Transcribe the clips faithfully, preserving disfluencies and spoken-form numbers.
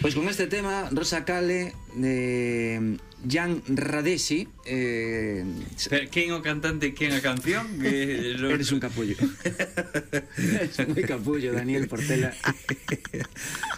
Pois con este tema, Rosa Kale de Jan Radesi, eh... quen o cantante, quen a canción? Que... Eres un capullo. Eres moi capullo, Daniel Portela.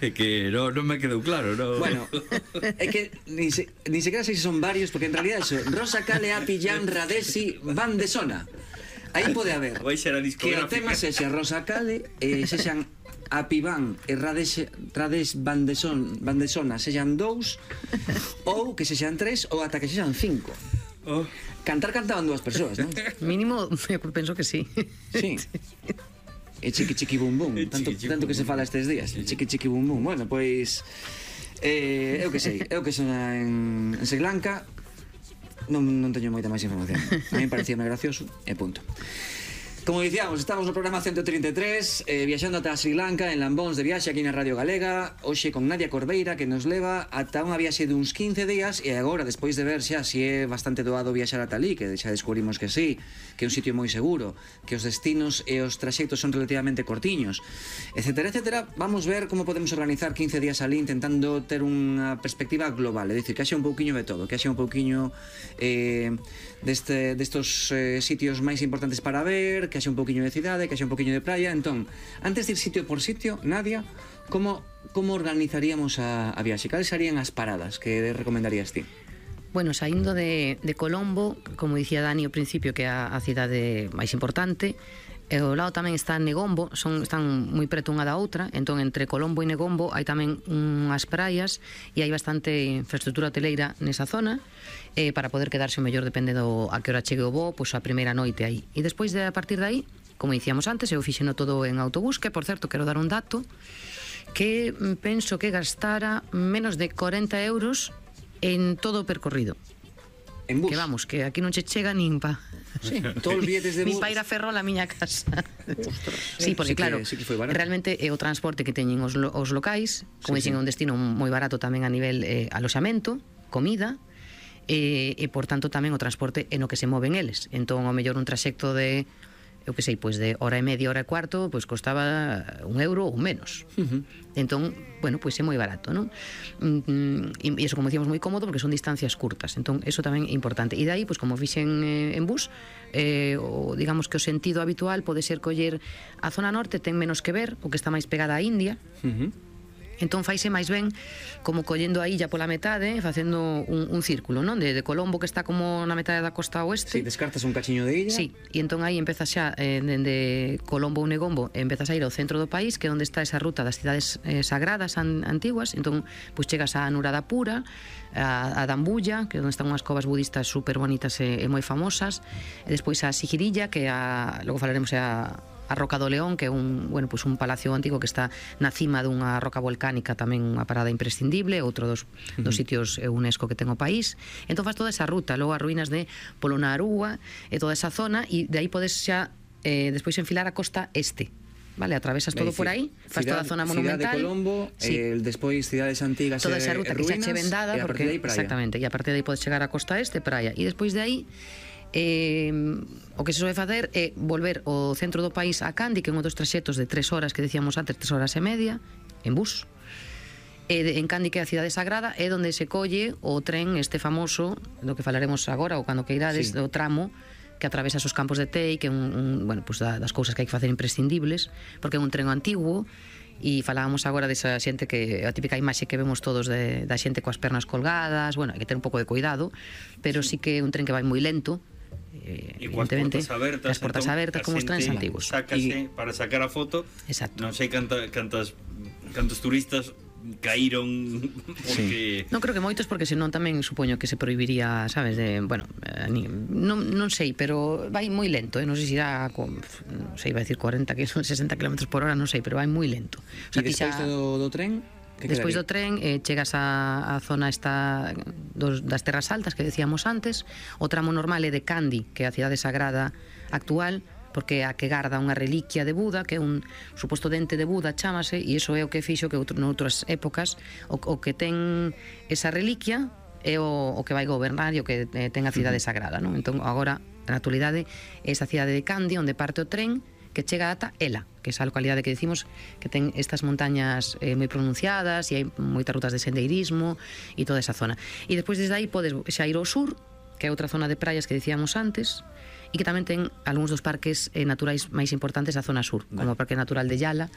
É que non no me quedou claro, no. Bueno, é que ni, se, ni sequera sei se son varios, porque en realidad eso, Rosa Kale, Api, Jan Radesi, Van de Sona. Aí pode haber que o tema sexa Rosa Kale e eh, sexan Apiván e Rades, Rades Bandeson, Bandesona sexan dous, ou que sexan tres, ou ata que sexan cinco. Oh. Cantar cantaban dúas persoas, non? Mínimo, eu penso que sí. Sí. E chiqui chiqui bum bum, tanto, tanto que se fala estes días. Chiqui chiqui bum bum. Bueno, pois eh, eu que sei, eu que son en, en Sri Lanka non, non teño moita máis información. A mí parecíame gracioso e punto. Como dicíamos, estamos no programa ciento treinta e tres, eh, viaxando ata Sri Lanka en Lambóns de viaxe aquí na Radio Galega, hoxe con Nadia Corbeira, que nos leva ata unha viaxe duns quince días, e agora, despois de ver xa si é bastante doado viaxar ata ali, que xa descubrimos que sí, que é un sitio moi seguro, que os destinos e os traxectos son relativamente cortiños, etcétera, etcétera, vamos ver como podemos organizar quince días ali intentando ter unha perspectiva global, é dicir, que haxe un pouquiño de todo, que haxe un pouquiño eh, deste, destos eh, sitios máis importantes para ver, que haxe un pouquiño de cidade, que haxe un pouquiño de praia. Entón, antes de ir sitio por sitio, Nadia, como, como organizaríamos a, a viaxe? Cales serían as paradas que recomendarías ti? Bueno, saindo de, de Colombo, como dicía Dani ao principio, que é a, a cidade máis importante, e ao lado tamén está Negombo, son, están moi preto unha da outra, entón entre Colombo e Negombo hai tamén unhas praias e hai bastante infraestructura hoteleira nesa zona, eh, para poder quedarse o mellor depende do a que hora chegue o voo, pois a primeira noite aí. E despois de a partir de aí, como dicíamos antes, eu fixeno todo en autobús, que por certo quero dar un dato, que penso que gastara menos de corenta euros en todo o percorrido. En bus? Que vamos, que aquí non che chega nin pa... Sí, todos os billetes de bus. Nin pa ir a Ferrol a miña casa. Ostras. Sí, porque sí que, claro, sí que foi barato. realmente é o transporte que teñen os, lo, os locais, como sí, dicen, sí. un destino moi barato tamén a nivel eh, aloxamento, comida, e, e por tanto tamén o transporte é no que se moven eles. Entón, ao mellor un traxecto de, eu que sei, pois de hora e media, hora e cuarto, pois costaba un euro ou menos. Uh-huh. Entón, bueno, pois é moi barato, non? E iso, como dicíamos, moi cómodo porque son distancias curtas. Entón, eso tamén é importante. E dai, pois como fixen eh, en bus, eh, o, digamos que o sentido habitual pode ser coller a zona norte, ten menos que ver, o que está máis pegada á India. Uh-huh. Entón faise máis ben como collendo a illa pola metade, facendo un, un círculo, non? De, de Colombo, que está como na metade da costa oeste. Si, sí, descartas un cachiño de illa. Sí, e entón aí empezas xa eh, dende Colombo ou Negombo, empezas a ir ao centro do país, que é onde está esa ruta das cidades eh, sagradas an, antiguas. Entón, pois chegas a Anuradhapura, a, a Dambulla, que é onde están unhas covas budistas super bonitas e, e moi famosas, e despois a Sigirilla, que a, logo falaremos é a a Roca do León, que é un, bueno, pues un palacio antigo que está na cima dunha roca volcánica, tamén unha parada imprescindible, outro dos, dos sitios UNESCO que ten o país. Entón faz toda esa ruta, logo as ruínas de Polonnaruwa e toda esa zona, e de aí podes xa eh, despois enfilar a costa este. Vale, atravesas todo por aí, faz toda a zona monumental. Cidade de Colombo, sí. eh, despois cidades antigas, toda esa ruta que xa che vendada, e a porque, partir de aí praia. Exactamente, e a partir de aí podes chegar a costa este, praia, e despois de aí Eh, o que se soe facer é volver ao centro do país a Kandy, que é un dos traxectos de tres horas que decíamos antes, tres horas e media en bus, e de, en Kandy, que é a cidade sagrada, é onde se colle o tren este famoso do que falaremos agora ou cando que irades, sí. do tramo que atravesa os campos de tei, que é un, un, bueno, pues da, das cousas que hai que facer imprescindibles, porque é un tren antiguo. E falábamos agora desa xente, que a típica imaxe que vemos todos de, da xente coas pernas colgadas. Bueno, hai que ter un pouco de cuidado, pero sí que é un tren que vai moi lento. Eh, e coas portas abertas, as portas entón, abertas como os trens antigos. Sácase y... para sacar a foto. Exacto. Non sei canta, cantas cantos turistas caíron porque... Sí. Non creo que moitos, porque senón tamén supoño que se prohibiría, sabes, de, bueno, eh, non, non sei, pero vai moi lento, eh? Non sei se irá con, non sei, vai decir cuarenta, sesenta kilómetros por hora, non sei, pero vai moi lento. O sea, e despois xa... do, do tren? Despois do tren eh, chegas a, a zona esta dos, das terras altas que decíamos antes. O tramo normal é de Kandy, que é a cidade sagrada actual, porque é a que garda unha reliquia de Buda, que é un suposto dente de Buda, chámase, e iso é o que fixo que outro, noutras épocas o, o que ten esa reliquia é o, o que vai gobernar e o que ten a cidade sagrada, non? Entón agora, na actualidade, é esa cidade de Kandy onde parte o tren, que chega ata Ela, que é esa localidade que decimos que ten estas montañas eh, moi pronunciadas e hai moitas rutas de sendeirismo e toda esa zona. E despois desde aí podes xa ir ao sur, que é outra zona de praias que dicíamos antes, e que tamén ten algúns dos parques eh, naturais máis importantes da zona sur, vale, como o Parque Natural de Yala,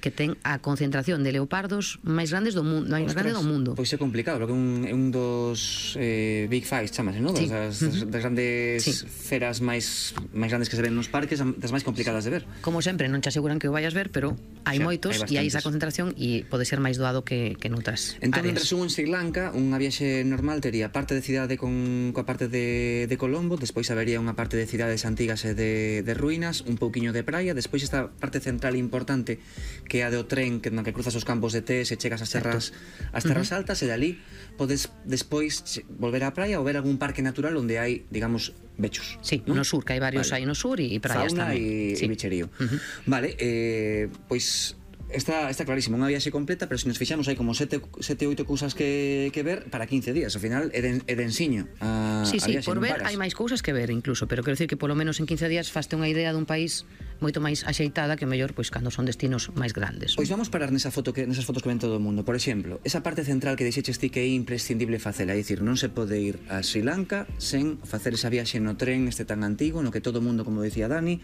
que ten a concentración de leopardos máis grandes do mundo, máis grande do mundo. Pois é complicado, porque é un, é un dos eh, Big Five, chamase, non? Sí. Das, das, das grandes sí. feras máis máis grandes que se ven nos parques, das máis complicadas de ver. Como sempre, non te aseguran que o vayas ver, pero hai sí, moitos e hai esa concentración e pode ser máis doado que, que noutras entón, áreas. En resumo, en Sri Lanka, unha viaxe normal tería parte de cidade con coa parte de, de Colombo, despois habería unha parte de cidades antigas e de, de ruínas, un pouquiño de praia, despois esta parte central importante que é a do tren, que na que cruzas os campos de tés e chegas ás terras ás terras uh -huh. altas, e dali podes despois volver á praia ou ver algún parque natural onde hai, digamos, bechos. Sí, ¿no? No sur, que hai varios vale. Aí no sur e praias fauna tamén. E sí. bicherío. Uh -huh. Vale, eh, pois está, está clarísimo, unha viaxe completa, pero se nos fixamos hai como sete, sete oito cousas que, que ver para quince días, ao final é, de, é de ensiño a, sí, a sí, viaxe, por ver paras. hai máis cousas que ver incluso, pero quero dicir que polo menos en quince días faste unha idea dun país moito máis axeitada que mellor pois cando son destinos máis grandes. Pois vamos parar nesa foto que nesas fotos que ven todo o mundo. Por exemplo, esa parte central que dixeches ti que é imprescindible facela, é dicir, non se pode ir a Sri Lanka sen facer esa viaxe no tren este tan antigo, no que todo o mundo, como decía Dani,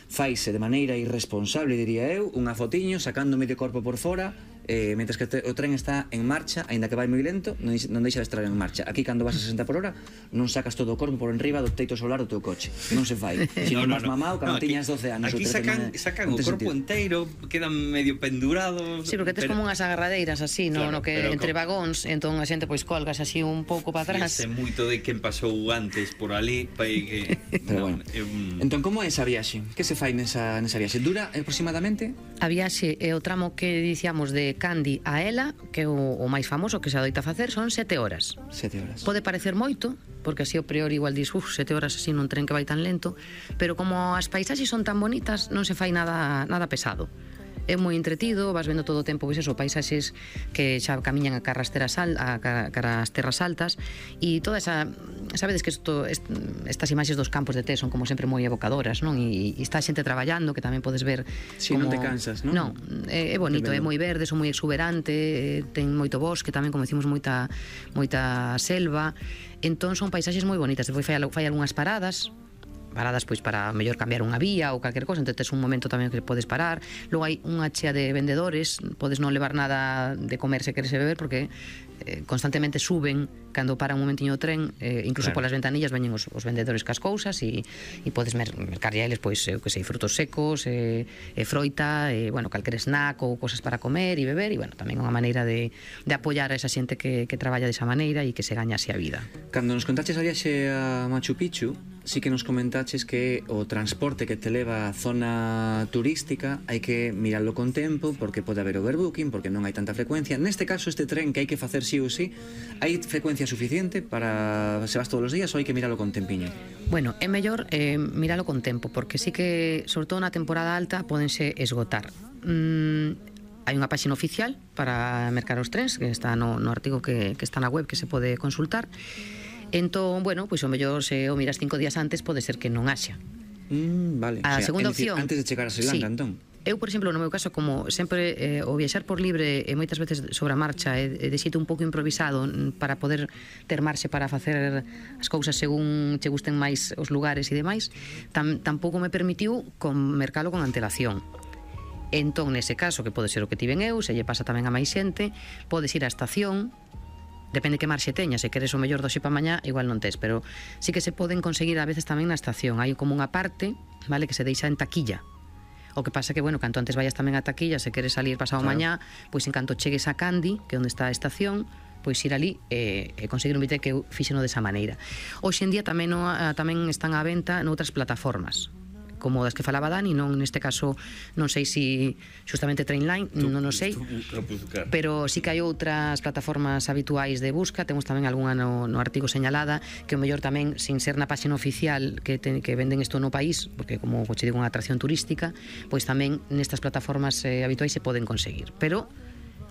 faise de maneira irresponsable, diría eu, unha fotiño sacando medio corpo por fora, eh, mentres que te, o tren está en marcha, aínda que vai moi lento, non, non deixa de estar en marcha. Aquí, cando vas a sesenta por hora, non sacas todo o corpo por enriba do teito solar do teu coche. Non se fai. Se non vas mamao, cando no, tiñas doce anos. Aquí sacan, no, sacan o corpo enteiro, quedan medio pendurados. Sí, porque tes pero, como unhas agarradeiras así, no, claro, no que entre con... vagóns, entón a xente pois colgas así un pouco para atrás. Fíjese moito de quen pasou antes por ali, para que... Pero bueno. Eh, um... Entón, como é esa viaxe? Que se fai nesa, nesa viaxe? Dura aproximadamente? A viaxe é o tramo que dicíamos de Kandy a Ela, que é o, o máis famoso que se adoita facer, son sete horas. Sete horas. Pode parecer moito, porque así o priori igual dis, uf, sete horas así nun tren que vai tan lento, pero como as paisaxes son tan bonitas, non se fai nada, nada pesado. É moi entretido, vas vendo todo o tempo pois eso, paisaxes que xa camiñan a cara as terras, al, a cara as terras altas, e toda esa, sabedes que isto, est, estas imaxes dos campos de té son como sempre moi evocadoras, non? E, e está a xente traballando, que tamén podes ver si, como... non te cansas, non? Non, é, é bonito, é moi verde, son moi exuberante, ten moito bosque, tamén, como decimos, moita moita selva, entón son paisaxes moi bonitas. Depois fai, fai algunhas paradas, paradas pois para mellor cambiar unha vía ou calquer cosa, entón tes un momento tamén que podes parar. Logo hai unha chea de vendedores, podes non levar nada de comer se queres beber, porque eh, constantemente suben cando para un momentiño o tren, eh, incluso claro, polas ventanillas veñen os, os vendedores cas cousas e, e podes mer mercar eles pois, eu que sei, frutos secos, e, e froita, e, bueno, calquer snack ou cosas para comer e beber, e, bueno, tamén unha maneira de, de apoiar a esa xente que, que traballa desa maneira e que se gañase a vida. Cando nos contaches a viaxe a Machu Picchu, sí que nos comentaches que o transporte que te leva á zona turística hai que mirarlo con tempo, porque pode haber overbooking, porque non hai tanta frecuencia. Neste caso, este tren que hai que facer sí ou sí, hai frecuencia suficiente para se vas todos os días ou hai que miralo con tempiño? Bueno, é mellor eh, miralo con tempo, porque sí que, sobre todo na temporada alta, pódense esgotar. Mm, hai unha páxina oficial para mercar os trens, que está no, no artigo que, que está na web, que se pode consultar. Entón, bueno, pois o mellor se o miras cinco días antes, pode ser que non haxa. Mm, vale. A o sea, segunda decir, opción, antes de chegar a Sri Lanka, sí. entón. Eu, por exemplo, no meu caso, como sempre eh, o viaxar por libre e moitas veces sobre a marcha e de xeito un pouco improvisado para poder ter marxe para facer as cousas según che gusten máis os lugares e demais, tam, tampouco me permitiu con mercalo con antelación. Entón, nese caso, que pode ser o que tiven eu, se lle pasa tamén a máis xente, podes ir á estación, depende que marxe teña, se queres o mellor doxe pa mañá, igual non tes, pero sí que se poden conseguir a veces tamén na estación. Hai como unha parte, vale, que se deixa en taquilla. O que pasa que, bueno, canto antes vayas tamén a taquilla, se queres salir pasado claro, mañá, pois en canto chegues a Kandy, que é onde está a estación, pois ir ali e, e conseguir un billete, que eu fixeno desa maneira. Hoxe en día tamén, no, tamén están á venta noutras plataformas, como das que falaba Dani, non neste caso non sei se si justamente Trainline, non o sei, pero sí que hai outras plataformas habituais de busca. Temos tamén algunha no, no artigo señalada, que o mellor tamén, sin ser na páxina oficial que, ten, que venden isto no país, porque como che digo, unha atracción turística, pois tamén nestas plataformas eh, habituais se poden conseguir, pero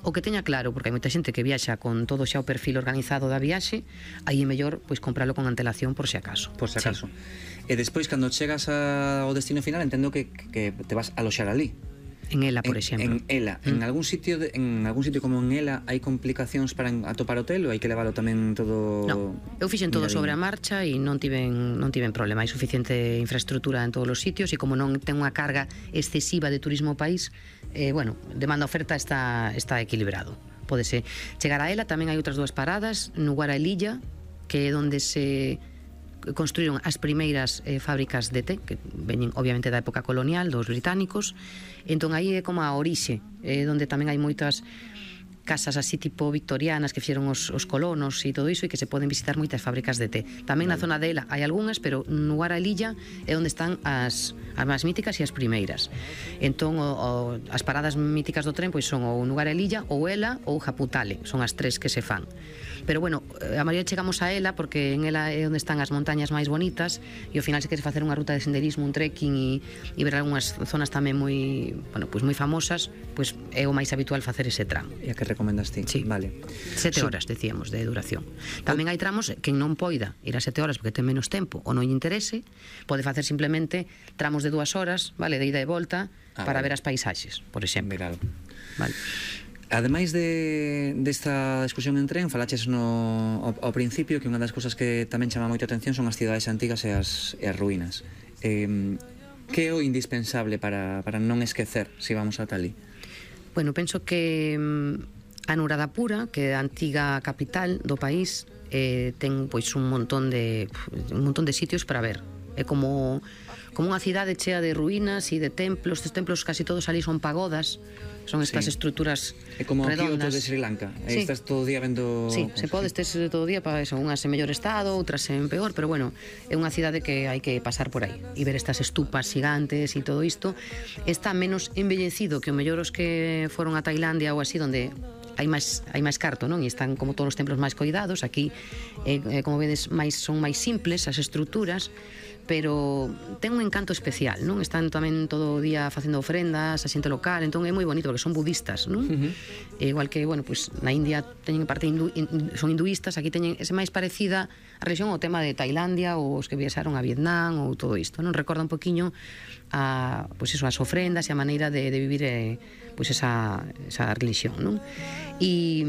o que teña claro, porque hai moita xente que viaxa con todo xa o perfil organizado da viaxe, aí é mellor pois compralo con antelación por se acaso. Por se acaso. Sí. E despois, cando chegas ao destino final, entendo que, que te vas a aloxar ali. En Ela, por en, exemplo. En Ela, mm. en algún sitio de, en algún sitio como en Ela hai complicacións para atopar hotel ou hai que leválo tamén todo? No, eu fixen todo sobre a marcha e non tiven non tiven problema, hai suficiente infraestructura en todos os sitios e como non ten unha carga excesiva de turismo ao país, eh, bueno, demanda-oferta está está equilibrado. Pódese chegar a Ela, tamén hai outras dúas paradas, no Guaralilla, que é onde se construíron as primeiras eh, fábricas de té, que veñen obviamente da época colonial dos británicos. Entón aí é como a orixe, eh, onde tamén hai moitas casas así tipo victorianas que fixeron os, os colonos e todo iso, e que se poden visitar moitas fábricas de té. Tamén vale. Na zona de Ela hai algunhas, pero no Guaralilla é onde están as, as máis míticas e as primeiras. Entón o, o, as paradas míticas do tren pois son ou no Guaralilla, ou Ela, ou Japutale, son as tres que se fan. Pero bueno, a maioría chegamos a Ela porque en Ela é onde están as montañas máis bonitas e ao final se queres facer unha ruta de senderismo, un trekking e, e ver algunhas zonas tamén moi, bueno, pois moi famosas, pois é o máis habitual facer ese tramo. E a que recomendas ti? Sí. Vale. Sete horas, decíamos, de duración. Tamén hai tramos que non poida ir a sete horas porque ten menos tempo ou non lle interese, pode facer simplemente tramos de dúas horas, vale, de ida e volta, ah, para vale. ver as paisaxes, por exemplo. Ver algo. Vale. Ademais de desta excursión en tren, falaches no, ao, ao principio que unha das cousas que tamén chama moita atención son as cidades antigas e as, e as ruínas. Eh, que é o indispensable para, para non esquecer se vamos ata ali? Bueno, penso que a Anuradhapura, que é a antiga capital do país, eh, ten pois un montón de un montón de sitios para ver. É como como unha cidade chea de ruínas e de templos. Estes templos casi todos ali son pagodas. Son estas sí. estruturas redondas. É como o Kyoto de Sri Lanka. Sí. Estás todo o día vendo... Sí, se pode, estes todo o día, son unhas en mellor estado, outras en peor, pero bueno, é unha cidade que hai que pasar por aí e ver estas estupas gigantes e todo isto. Está menos embellecido que o mellor os que foron a Tailandia ou así, donde hai máis hai máis carto, non? E están como todos os templos máis coidados. Aquí, eh, como vedes, máis son máis simples as estruturas, pero ten un encanto especial, non? Están tamén todo o día facendo ofrendas a xente local, entón é moi bonito porque son budistas, non? Uh -huh. E igual que, bueno, pues na India teñen parte hindu, son hinduistas, aquí teñen ese máis parecida a religión ao tema de Tailandia ou os que viaxaron a Vietnam ou todo isto, non? Recorda un poquiño a, pues eso, as ofrendas e a maneira de, de vivir eh, pues esa, esa religión, non? E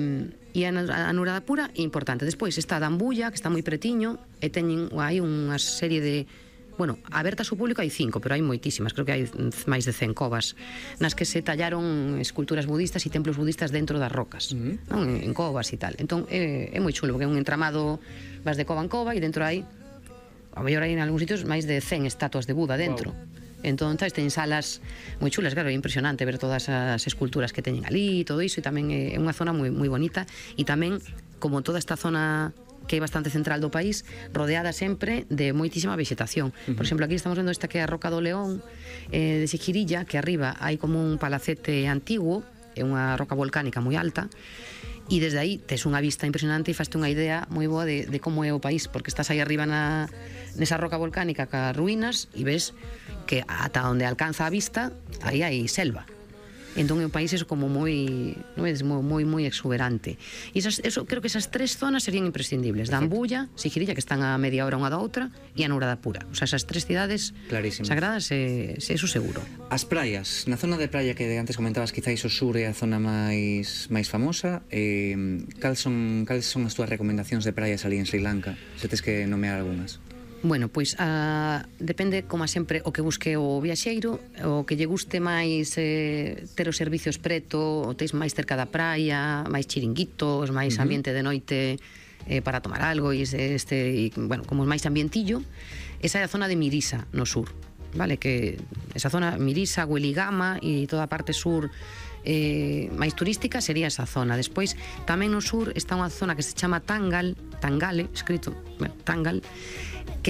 E a Anuradhapura é importante. Despois está a Dambulla, que está moi pretiño, e teñen hai unha serie de... Bueno, abertas ao público hai cinco, pero hai moitísimas, creo que hai máis de cen covas, nas que se tallaron esculturas budistas e templos budistas dentro das rocas, uh-huh. non? En, en covas e tal. Entón é, é moi chulo, porque é un entramado, vas de cova en cova, e dentro hai, a mellor hai en algúns sitios, máis de cen estatuas de Buda dentro. Wow. Entón, teñen salas moi chulas, claro, é impresionante ver todas as esculturas que teñen ali e todo iso, e tamén é unha zona moi, moi bonita, e tamén, como toda esta zona que é bastante central do país, rodeada sempre de moitísima vegetación. Uh-huh. Por exemplo, aquí estamos vendo esta que é a Roca do León, eh, de Sijirilla, que arriba hai como un palacete antiguo, é unha roca volcánica moi alta, e desde aí tes unha vista impresionante e faste unha idea moi boa de, de como é o país, porque estás aí arriba na, nesa roca volcánica ca ruínas e ves que ata onde alcanza a vista aí hai selva. Entón é un país eso como moi, non é, moi moi exuberante. E esas, eso, creo que esas tres zonas serían imprescindibles. Dambulla, Sijirilla, que están a media hora unha da outra, e Anuradhapura. O sea, esas tres cidades clarísimas, sagradas, é, é eso seguro. As praias, na zona de praia que antes comentabas, quizáis o sur é a zona máis máis famosa, eh, cal son, cal son as túas recomendacións de praias ali en Sri Lanka? Se tes que nomear algunhas. Bueno, pois uh, depende, como sempre, o que busque o viaxeiro, o que lle guste máis eh, ter os servicios preto, o teis máis cerca da praia, máis chiringuitos, máis uh -huh. ambiente de noite eh, para tomar algo, e este, e, bueno, como máis ambientillo. Esa é a zona de Mirisa, no sur, vale? Que esa zona, Mirisa, Weligama e toda a parte sur eh, máis turística sería esa zona. Despois, tamén no sur está unha zona que se chama Tangal, Tangale, escrito, bueno, Tangal,